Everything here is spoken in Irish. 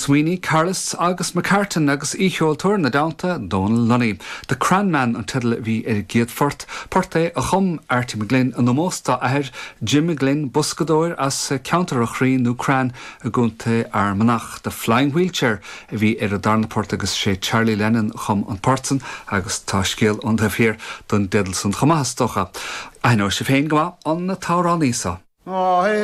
Sweeney, Carlos agus McCartan agus aoicheoltóir ina dteannta, Dónal Lunny. The Cranman an teideal a bhí ar an gcéad phort, port é a chum Arty McGlynn in ómós dá athair, Jim McGlynn, boscadóir as ceantar an Chraoin nó Crann i gContae Fhear Manach. The Flying Wheelchair a bhí ar an darna port agus sé Charlie Lennon a chum an port san agus tá scéal ón taobh thiar don dteideal san chomh maith is dócha. Aithneoidh sibh féin go maith an t-amhránaí seo.